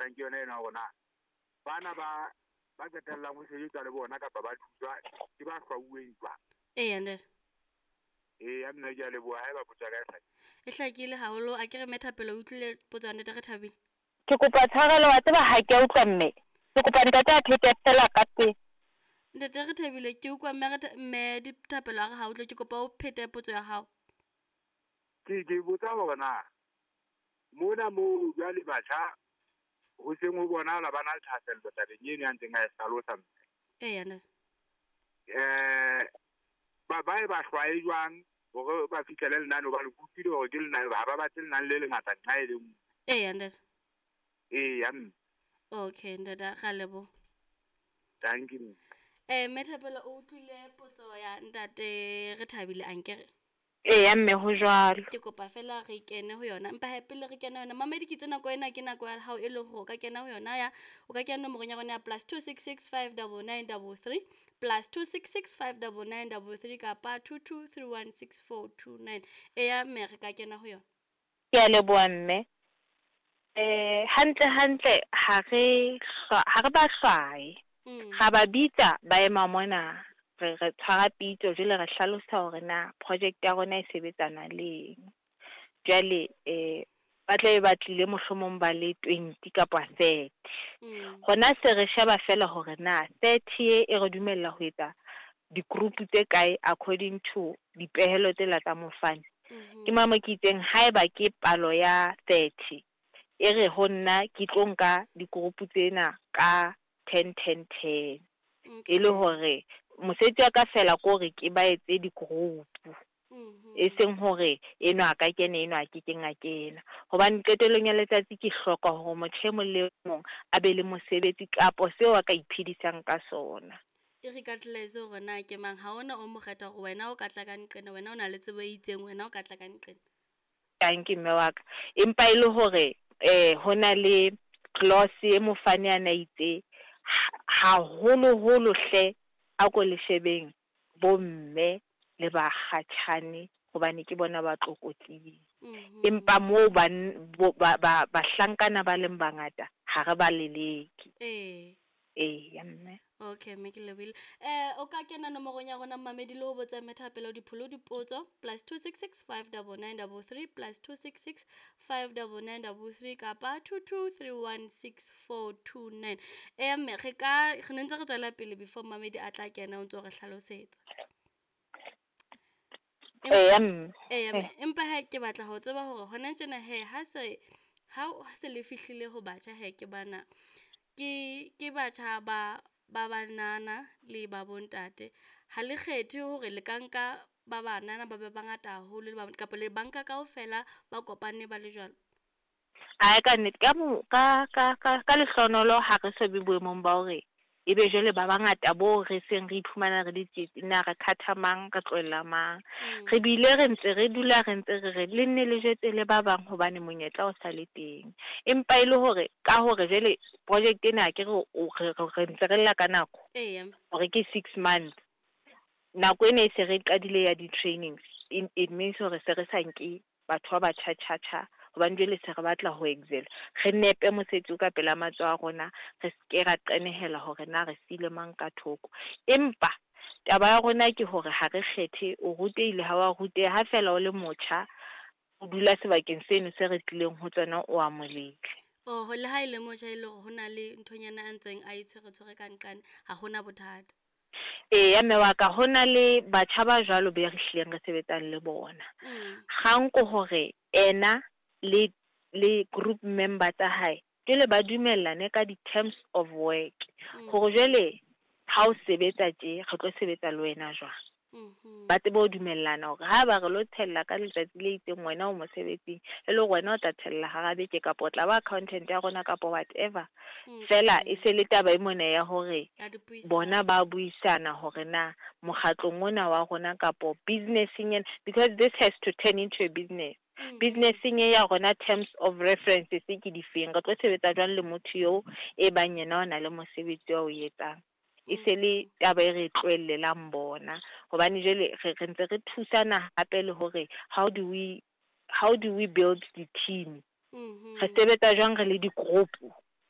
batlang ke yona ena hore na bana ba ba qetellang ho sebetsa le bona kapa ba thuswa ke ba hlwauweng jwang. Eya ntate. Eya mme ke a leboha haeba potso ya ka e hlakile. E hlakile haholo a ke re mme Thapelo o utlwile potso ya ntate Rethabile. Ke kopa tshwarelo wa tseba ha ke a utlwa mme. Ke kopa ntate a phete fela ka pele. Ntate Rethabile ke utlwa mme mme Dithapelo a re ha utlwe ke kopa o phete potso ya hao. Ke botsa hore na mona moo jwale batjha ho seng ho bonahala ba na le thahasello tabeng eno ya ntseng a e hlalosa mme. Eya ntate. Ba e ba hlwaye jwang hore ba fihlele lenane hobane ke utlwile hore ke lenane ha ba batle lenane le lengata nqa e le nngwe. Eya ntate. Eya mme. Okay ntate ra leboha. Thank you. Mme Thapelo o utlwile potso ya ntate Rethabile ankere? Eya mme ho jwalo. Ke kopa fela re kene ho yona. Empa he pele re kene ho yona, mamedi ke itse nako ena ke nako ya hao e leng hore o ka kena ho yona ya o ka kena nomorong ya rona ya +266 599 33 +266 599 33 kapa 2231 6429. Eya mme re ka kena ho yona. Ke a leboha mme. Hantle hantle ha re ha re ba hlwaye. Ra ba bitsa ba ema mona re re tshwara pitso jwale re hlalosa hore na project ya rona e sebetsana le eng. Jwale ba tlabe ba tlile mohlomong ba le 20 kapa 30. Hona se re sheba fela hore na 30 e re dumella ho etsa di-group tse kae according to dipehelo tsela tsa mofani. Ke mo mo ke itseng haeba ke palo ya 30 e re ho nna ke tlo nka di-group tsena ka 10 10 10. E le hore mosebetsi wa ka fela ke hore ke ba etse di-group. E seng hore enwa a ka kena enwa a kekeng a kena. Hobane qetellong ya letsatsi ke hloka hore motho e mong le mong a be le mosebetsi kapo seo a ka iphedisang ka sona. E regardless hore na ke mang ha hona o mo kgetha hore wena o ka tla ka nqena, wena o na le tsebo e itseng, wena o ka tla ka nqena. Dankie mme wa ka. Empa e le hore ho na le clause e mofani a na itse haholoholo hle a ko le shebeng bomme le bakgatjhane hobane ke bona ba tlokotsing. Empa moo ba bahlankana ba leng bangata ha re ba leleke. Eya mme. Okay mme ke lebohile. O ka kena nomorong ya rona mmamedi le ho botsa mme Thapelo Dipholo dipotso +266 599 33 +266 599 33 kapa 2231 6429. Eya mme re ka re ne ntse re tswela pele before mmamedi a tla kena o ntso re hlalosetsa. Eya mme. Eya mme, empa he ke batla ho tseba hore hona tjena he ha se ha se le fihlile ho batjha he ke bana ke batjha ba ba banana le ba bontate. Ha le kgethe hore le ka nka ba banana ba be bangata haholo le ba kapa le banka kaofela ba kopane ba le jwalo? Ae ka nnete ka mo ka ka ka ka lehlohonolo ha re so be boemong ba hore ebe jwale ba bangata bo re seng re iphumana re le tsietsing na re khatha mang re tlohella mang. Re bile re ntse re dula re ntse re re le nne le jwetse le ba bang hobane monyetla o sa le teng. Empa e le hore ka hore jwale project ena ke re re ntse re lla ka nako. Eya. Hore ke 6 months. Nako ena e se re qadile ya di-trainings. It means hore se re sa nke batho ba batjha tjha tjha hobane jwale se re batla ho excel. Re nepe mosebetsi o ka pela matsoho a rona, re ske ra qenehela hore na re siile mang ka thoko. Empa taba ya rona ke hore ha re kgethe o rutehile ha wa ruteha, ha fela o le motjha o dula sebakeng seno se re tlileng ho tsona o amoheleile. Oh, le ha e le motjha e le hore hona le nthonyana a ntseng a e tshwere tshwere ka nqane, ha hona bothata. Eya mme wa ka hona le batjha ba jwalo be re hlileng re sebetsang le bona. Kgang ke hore ena le group member tsa hae jwale ba dumellane ka di-terms of work. Hore jwale ha o sebetsa tje re tlo sebetsa le wena jwang. Ba tsebe ho dumellana hore ha ba re lo tshella ka letsatsi le itseng wena o mosebetsing, e le hore wena o tla tshella hara beke kapa o tla ba accountant ya rona kapa whatever. Fela e se le taba e mona ya hore bona ba buisana hore na mokgatlong ona wa rona kapo business-eng ena, because this has to turn into a business. Business-eng e ya rona terms of references ke difeng, re tlo sebetsa jwang le motho eo e bang yena o na le mosebetsi wa o etsang. E se le taba e re tlohellelang bona hobane jwale re ntse re thusana hape le hore how do we build the team. Re sebetsa jwang re le di-group.